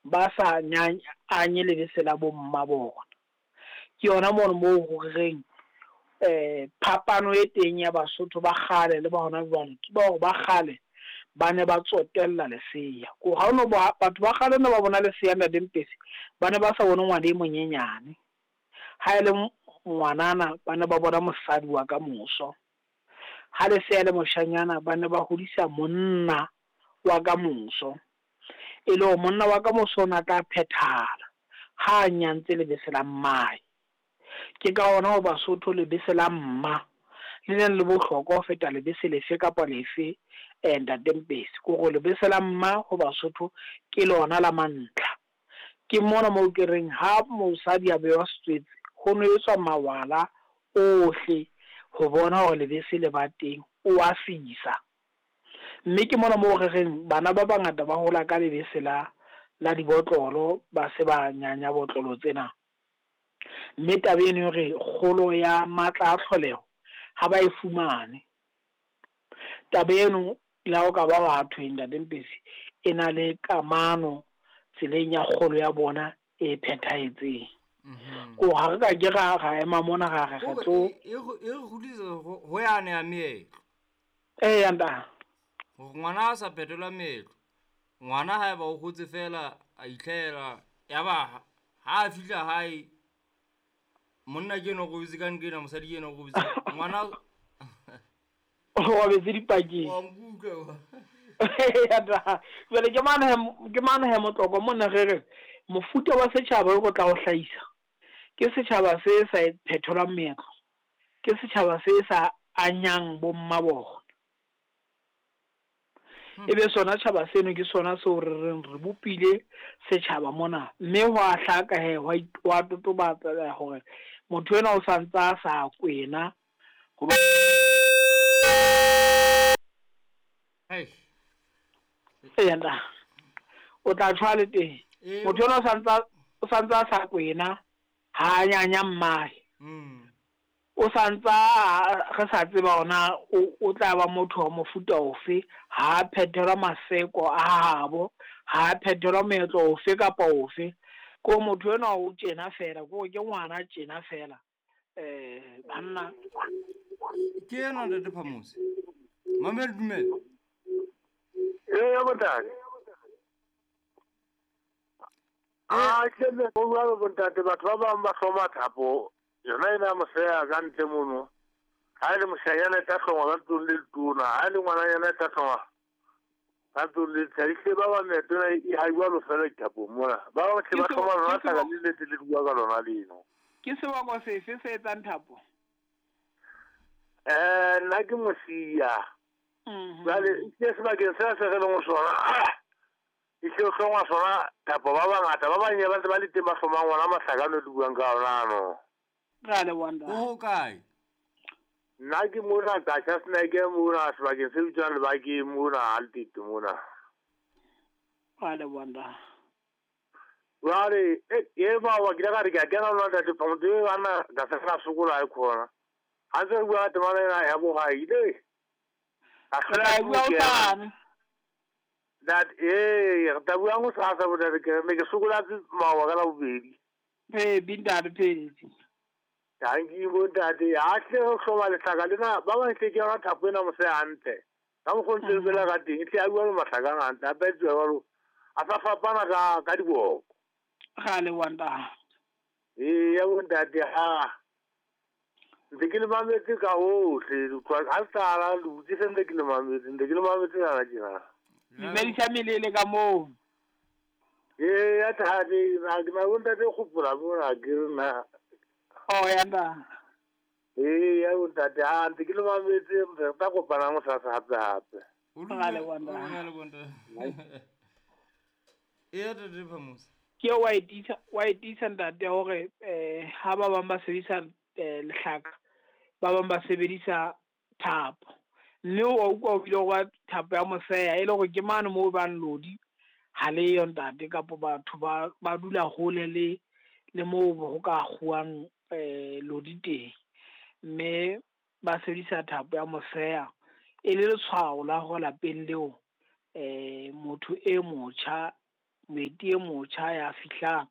ba sa anye lebese la bomma bona. Ke yona mono moo ho reng phapano e teng ya Basotho ba kgale le ba hona jwale ke ba hore ba kgale ba ne ba tsotella lesea. Ko ha ono ba batho ba kgale ne ba bona lesea Ntate Mpesi, ba ne ba sa bone ngwana e monyenyane. Ha e le ngwanana ba ne ba bona mosadi wa ka moso. Ha lesea le moshanyana ba ne ba hodisa monna wa ka moso. E le hore monna wa ka moso o na tla phethahala ha a nyantse lebese la mmae. Ke ka hona ho Basotho lebese la mma le neng le bohlokwa ho feta lebese lefe kapa lefe, Ntate Mpesi. Ke hore lebese la mma ho Basotho ke lona la mantlha. Ke mona moo ke reng ha mosadi a bewa setswetse, ho no etswa mawala ohle ho bona hore lebese le ba teng, o a sisa. Mme ke mona moo re reng bana ba bangata ba hola ka lebese la la dibotlolo, ba se ba nyanya botlolo tsena. Mme taba eno e re kgolo ya matla a tlholeho ha ba e fumane. Taba eno le ha o ka ba wa thwe Ntate Mpesi, e na le kamano tseleng ya kgolo ya bona e phethahetseng. Ko ha re ka ke ra ema mona ra re re tlo e re kgutlisa ho yane ya meetlo. Eya ntate. Hore ngwana a sa phethelwa meetlo, ngwana haeba o hotse fela a itlhahela, ya ba ha a fihla hae monna ke eno o robetse ka nqena, mosadi ke eno o robetse ngwana o robetse dipakeng. Wa nkutlwa. Jwale ke mane he motloko mona re re mofuta wa setjhaba o tla o hlahisa ke setjhaba se sa phetholwang meetlo, ke setjhaba se sa anyang bomma bona. Ebe sona tjhaba seno ke sona seo re reng re bopile setjhaba mona, mme ho a hlaka he hwa totobatsa hore motho enwa o santsa a sa kwena. Eya, o tla tshwa le teng. Motho enwa o santsa a sa kwena, ha a nyanya mmae. O santsa re sa tseba hona o tla ba motho wa mofuta ofe, ha a phethelwa maseko a habo, ha a phethelwa meetlo ofe kapa ofe. Ko motho enwa o tjena fela, ko ke ngwana tjena fela. Banna ke ena Ntate Phamose. Mamela dumela. Eya bontate. A ke le go bua bontate, batho ba bang ba hloma thapo yona ena moseya ka ntle mono. Ha e le moshanyana e tla hlongwa ka ntlong le letona, ha e le ngwananyana e tla hlongwa ka ntlong le letshadi. Ehlile ba bang meetlo ena e ha jwalo fela dithapong mona. Ba bang hle ba hloma lona hlaka le letse le bua ka lona leno. Ke seboko sefe se etsang thapo? Nna ke Mosia. Jwale ke sebakeng sena se re leng ho sona, ehlile ho hlongwa sona thapo. Ba bangata ba bang ba ntse ba le teng ba hlomang ona mahlaka ano le buang ka ona ano. Ra leboha ntate. O hokae? Nna ke mona Qacha Snake mona sebakeng se bitswang Lebakeng mona Altitude mona. Ra leboha ntate. Jwale e ba wa ke ile ka re ke a kena lona Ntate Phamotse, e banna ka se ka sokola e khona. Ha ntse re bua ka temana ena ya bohai le. A Re tla bua hosane. That re tla bua hosasa bontate, ke ne ke sokola maoba ka Labobedi. Phepi ntate, phepi. Tanki bontate, ha hle ho hloma lehlaka lena, ba bang hle ke yona thapo ena mose hantle. Ka mokgwa o ntse re bela ka teng, ehlile a bua le mahlaka a hantle, a petsuwa jwalo, a sa fapana ka diboko. Ra leboha ntate. Eya bontate, ha ntse ke le mametse ka hohle, ha le tlala le butse se ntse ke le mametse, ntse ke le mametse jana tjena. Dumedisa melele ka moo. Eya tate, na ke na bontate kgopola mona ke re na. Oh ya ntate. Eya bontate, ha ntse ke le mametse, re tla kopana hosasa hape hape. Ra leboha ntate. Eya Ntate Phamose. Ke wa e tiisa, wa e tiisa ntate hore ha ba bang ba sebedisa lehlaka, ba bang ba sebedisa thapo. Mme wa utlwa o bile wa thapo ya moseya e le hore ke mane moo bang lodi ha le yo ntate, kapa batho ba dula hole le moo ho ka kguwang lodi teng. Mme ba sebedisa thapo ya moseya e le letshwao la hore lapeng leo motho e motjha Moeti e motjha ya fihlang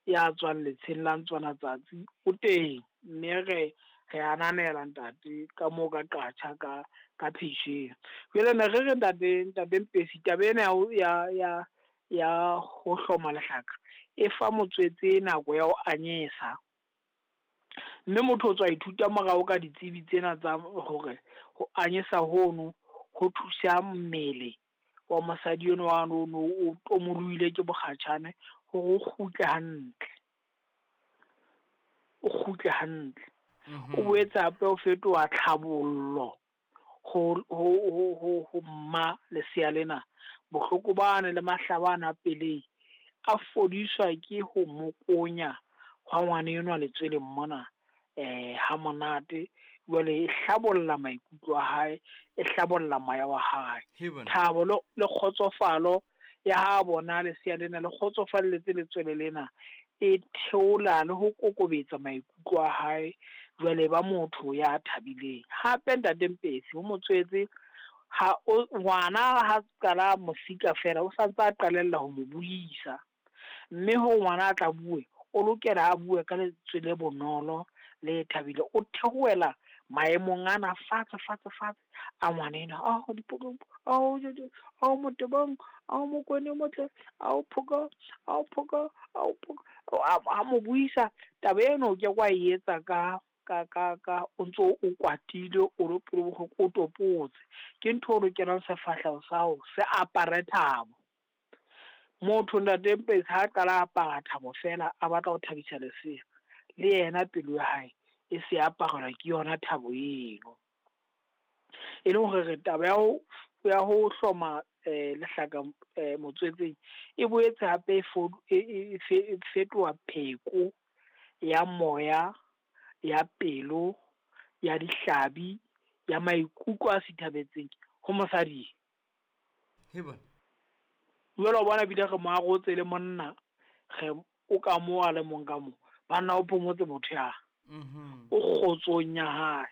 ya tswang letsheng la Ntswana-Tsatsi o teng, mme re ananela ntate ka moo ka qatjha ka phetjheng. Jwale ne re re ntate Mpesi, taba ena ya ho hloma lehlaka e fa motswetse nako ya ho anyesa. Mme motho o tswa ithuta morao ka ditsebi tsena tsa hore ho anyesa hono ho thusa mmele wa mosadi enwa wa no o tomolohile ke bokgatjhane hore o kgutle hantle. O kgutle hantle. O boetse hape o fetoha tlhabollo ho mma lesea lena. Bohloko bane le mahlaba ana a pelehi a fodiswa ke ho mokonya hwa ngwana enwa letsweleng mona ha monate. Jwale e hlabolla maikutlo a hae, e hlabolla moya wa hae. Thabo le kgotsofalo ya ha bona lesea lena le kgotsofalletse letswele lena, e theola le ho kokobetsa maikutlo a hae. Jwale ba motho ya thabileng. Hape ntate Mpesi, ho motswetse ha ngwana ha qala mosika fela, o santse a qalella ho mo buisa. Mme ho ngwana a tla bue, o lokela a bue ka lentswe le bonolo le thabile. O theohela maemong ana fatshe fatshe fatshe a ngwana enwa. Ao dipokong, ao jojo, ao motebong, ao mokone motle, ao phoka, ao phoka, ao phoka. A mo buisa. Taba eno ke kwa e etsa ka o ntso o kwatile, o le pelo bohloko, o topotse. Ke ntho o lokelang sefahleho sa hao se apare thabo. Motho ntate Mpesi ha qala apara thabo fela, a batla ho thabisa lesea, le yena pelo ya hae e se aparelwa ke yona thabo eno. E leng hore re taba ya ho hloma lehlaka motswetseng e boetse hape e fetoha pheko ya moya, ya pelo, ya dihlabi, ya maikutlo a sithabetseng ho mosadi. Heba. Jwale o bona bile re mo arotse le monna, re o ka mo a le mong ka mo. Banna o phomotse motho ya. O kgotsong ya hae,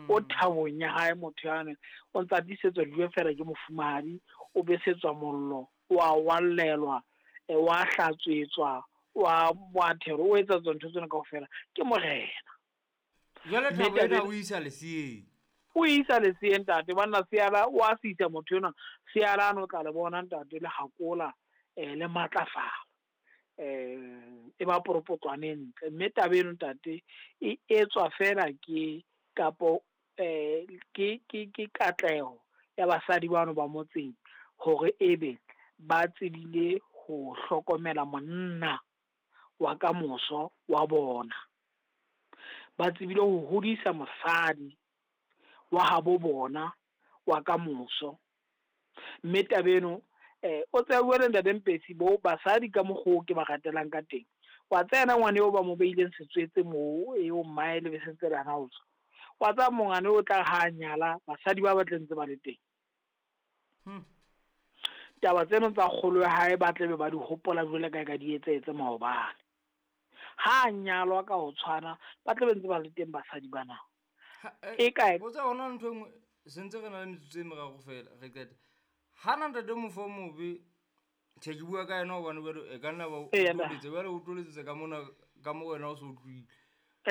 o thabong ya hae motho yane. O ntsa tiisetswa dijo fela ke mofumahadi, o besetswa mollo, o a wallelwa, wa hlatswetswa, wa thero, o etsa tsona ntho tsena kaofela ke morena. Jwale thabo ena o isa leseeng. O isa leseeng ntate, banna seala o a sisa motho enwa, seala ano tla le bona ntate le hakola, le matlafala. E ba poropotlwane ntle. Mme taba eno ntate e etswa fela ke kapo ke katleho ya basadi bano ba motseng hore ebe ba tsebile ho hlokomela monna wa kamoso wa bona. Ba tsebile ho hodisa mosadi wa habo bona wa kamoso. Mme taba eno o tseba bua le ntate Mpesi, bo basadi ka mokgwa ke ba ratelang ka teng. Wa tsena ngwana eo ba mo beileng setswetse moo, eo mmae le besentse le hana ho tswa. Wa tseba mongane o tla ha nyala basadi ba batle ntse ba le teng. Taba tseno tsa kgolo ya hae ba tlebe ba di hopola jwale ka di etsetse maobane. Ha nyalwa ka ho tshwana, ba tlebe ntse ba le teng basadi bana. E kae? O tseba hona ntho e nngwe, sentse re na le metsotso e meraro fela, re qete. Ha na ntate mofo mobe, tjhe ke bua ka yena hobane jwale e ka nna ba o toletse, jwale o toletsetse ka mona, ka mo wena o so utlwile. O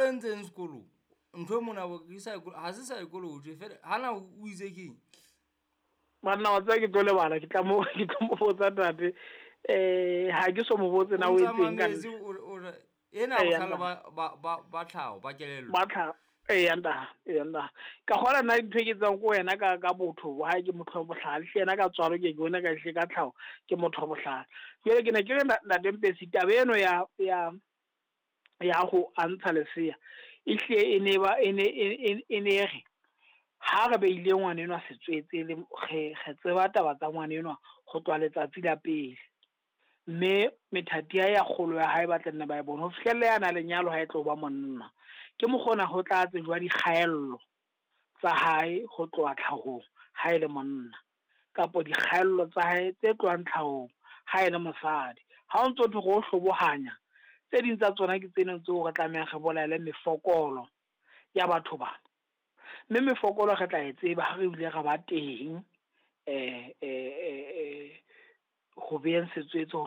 entseng sekolong? Ntho e mona ke ha se psychology fela, ha na o itse keng? Banna wa tseba ke tlo lebala, ke tla mo botsa ntate. Ha ke so mo botse na o etseng ka nna. Ena bohlale ba tlhaho, ba kelello. Ba tlhaho. Eya nda. Ka kgola nna ntho e ke tsang ko wena ka botho bo hae ke motho wa bohlale. Hle yena ka tswalo ke bona ka hle ka tlhaho ke motho wa bohlale. Jwale ke ne ke re ntate Mpesi, taba eno ya ho antsha lesea e hle e ne ba e ne re ha re beile ngwana enwa setswetse le re tseba taba tsa ngwana enwa ho tloha letsatsi la pele. Mme methati ya kgolo ya hae ba tla nna ba e bona ho fihlella ya na lenyalo ha e tlo ba monna. Ke mokgona ho tla tsejwa dikgaello tsa hae ho tloha tlhahong ha e le monna, kapo dikgaello tsa hae tse tlohang tlhahong ha e le mosadi. Ha o ntso thwe go hlobohanya, tse ding tsa tsona ke tsena tseo re tlamehang re bolaele mefokolo ya batho bana. Mme mefokolo re tla e tseba ha re bile re ba teng Ho beyeng setswetse ho.